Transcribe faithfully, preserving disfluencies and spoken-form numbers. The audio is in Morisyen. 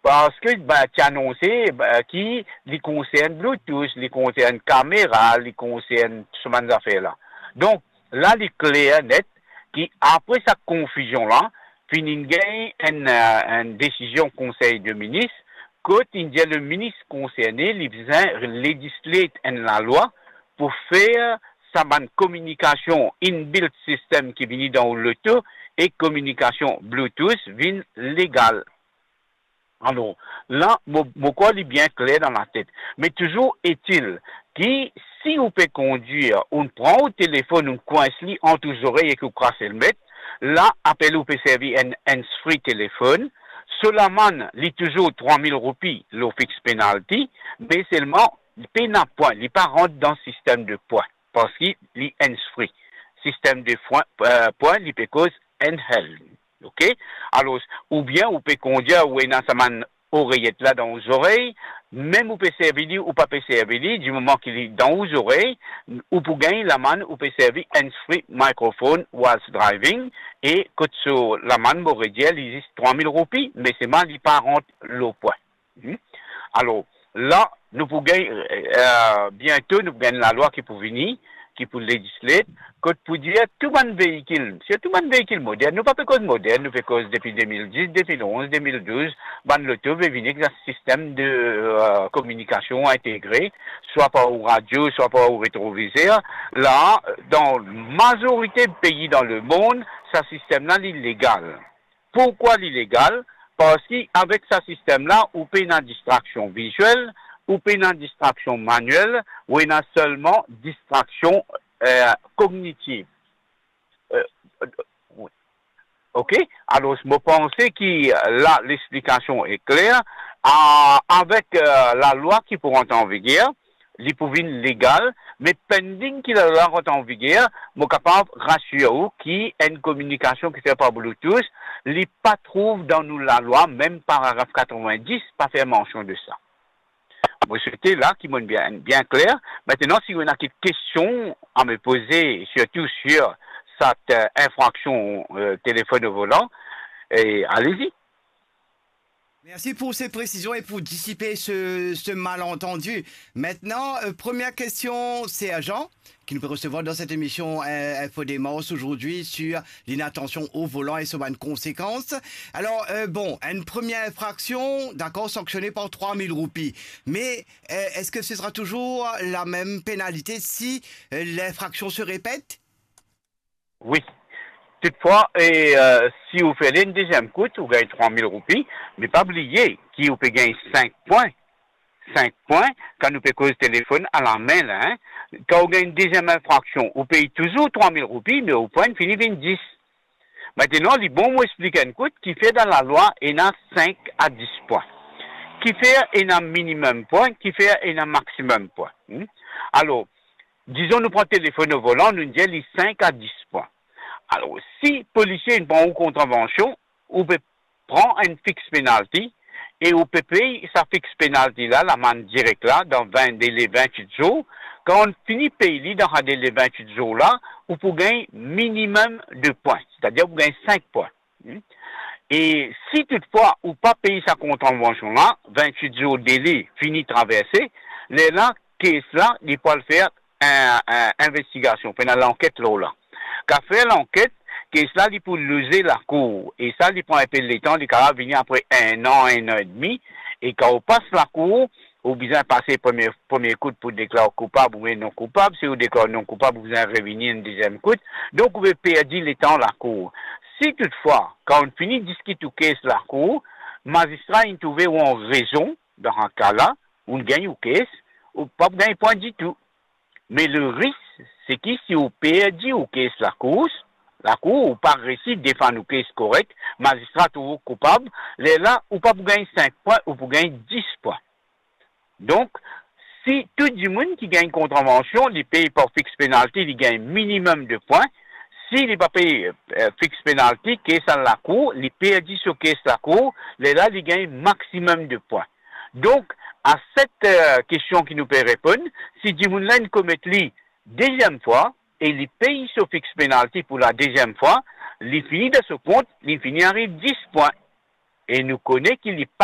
parski, ben, ti anonse, ben, ki li konsern Bluetooth, li konsern kamera, li konsern so bann zafer la. Donk, la, li kler net ki apre sa konfizion la, finn gagn enn, eh, enn desizion Konsey de Minis, kot inn dir le minis konserne, li bizin legislate enn lalwa pou fer sa bann kominikasion inbuilt system ki vini dan ou loto e kominikasion Bluetooth vinn legal. Alor, la, mo, mo krwar li bien kler dan latet. Me touzour etil ki si ou pe kondwir, ou pran ou telefonn, ou kwins li ant ou zorey ek ou kras elmet, la, apel ou pe servi enn hands-free telefonn, so lamann, li touzour trwa mil roupi lor fix penalty, me selman, li pena pwin, li pa rant dan sistem de pwin, parski li hands-free. Sistem de fwin-, eh, pwin, li pe koz handheld. Ok? Alor, oubien ou pe kondwir, ou ena sa bann oreyet la dan ou zorey, mem ou pe servi li, ou pa pe servi li, dimoman ki li dan ou zorey, ou pou gagn lamann, ou pe servi hands-free microphone whilst driving, e kot so lamann, mo redir, li zis trwa mil roupi, me selman li pa rant lor pwin. Hmm? Alor, la, nou pou gagn, eh, biento, nou pou gagn lalwa ki pou vini, ki pou legislate, kot pou dir tou bann veikil, sirtou bann veikil modern, nou pa pe koz modern, nou pe koz depi de mil dis, de mil onz, de mil douz, bann loto pe vini ek sa sistem de, eh, kominikasion integre, swa par ou radio, swa par ou retrovizer. La, dan mazorite pei dan lemond, sa sistem la, li legal. Pourkwa li legal? Parski avek sa sistem la, ou pena distraksion viziel, ou pena distraksion maniel, ou ena selman distraksion, eh, kognitiv. Eh, ok? Alor, mo panse ki la, lexplikasion e kler. A, avek, eh, lalwa ki pou rant an viger, li pou vinn legal, me pending ki lalwa rant an viger, mo kapav rasir ou ki enn kominikasion ki fer par Bluetooth, li pa trouv dan nou lalwa, mem paragraf katrevin-dis pa fer mansion de sa. Mo swete la ki mo bien, bien kler. Aster, si ou ena kek kestion a me poze, sirtou sir sa, eh, infraksion, eh, telefonn o volan, eh, alezi. Merci pour ces précisions et pour dissiper ce, ce malentendu. Maintenant, euh, première question, sergent, qui nous peut recevoir dans cette émission, euh, Info Démarche aujourd'hui sur l'inattention au volant et ses bonnes conséquences. Alors, euh, bon, une première infraction, d'accord, sanctionnée par trois mille roupies. Mais, euh, est-ce que ce sera toujours la même pénalité si, euh, l'infraction se répète ? Wi. Toutfwa, e, eh, si ou fer li enn deziem kout, ou gagn trwa mil roupi, me pa bliye ki ou pe gagn sink pwin. Sink pwin, kan nou pe koz telefonn a lame la, hein. Kan ou gagn deziem infraksion, ou pey touzour trwa mil roupi, me ou pwin fini vinn dis. Aster, li bon mo explik enn kout, kifer dan lalwa ena sink a dis pwin. Kifer ena minimum pwin, kifer ena maximum pwin. Hmm? Alor, dizon nou pran telefonn o volan, nou dir li sink a dis pwin. Alor, si polisie inn pran ou kontravansion, ou pe pran enn fix penalty e ou pe pey sa fix penalty la, lamann direk la, dan vin, dele vintwit zour. Kan ou fini pey li dan sa dele vintwit zour la, ou pou gagn minimum de pwin, setadir ou pou gagn sink pwin. Hmm? E si toutfwa ou pa pey sa kontravansion la, vintwit zour dele fini traverse, lerla, case la, li pou al fer enn, enn investigasion, pou ena lanket lor la. Kan fer lanket, case la, li pou loze lakour. E sa, li pran enpe letan, li kapav vini apre enn an, enn an edmi. E kan ou pas lakour, ou bizin pase premie, premie kout pou deklar koupab oubien non koupab. Si ou deklar non koupab, ou bizin revini enn deziem kout. Donk, ou pe perdi letan lakour. Si toutfwa, kan ou fini diskit ou case lakour, mazistra inn trouve ou an rezon, dan sa ka la, ou gagn ou case, ou pa gagn pwin ditou. Me le risk, se ki si ou perdi ou case lakour, lakour, ou pa resi defann ou case korek, mazistra trouv ou koupab, lerla, ou pa pou gagn sink pwin, ou pou gagn dis pwin. Donk, si tou dimoun ki gagn kontravansion, li pey par fix penalty, li gagn minimum de pwin. Si li pa pey, eh, fix penalty, case al lakour, li perdi so case lakour, lerla li gagn maximum de pwin. Donk, a set, eh, kestion ki nou pe reponn, si dimoun la inn komet li deziem fwa e li pey so fix penalty pou la deziem fwa, li fini dan so kont, li fini ariv dis pwin. E nou kone ki li pa